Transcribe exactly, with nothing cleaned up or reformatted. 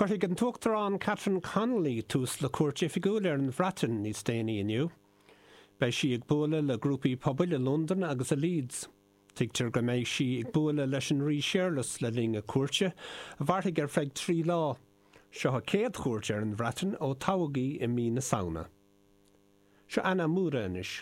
Cuirfidh an tUachtarán Catherine Connolly tús le cuairt oifigiúil ar an Bhreatain níos déanaí inniu. Beidh sí ag bualadh le grúpaí pobail i Londain agus i Leeds. Tuigtear go mbeidh sí ag bualadh leis an Rí Séarlas le linn a cuairte, a mhairfidh ar feadh trí lá. Seo a céad chuairt ar an Bhreatain ó toghadh í i mí na Samhna. Seo Anna Múra anois.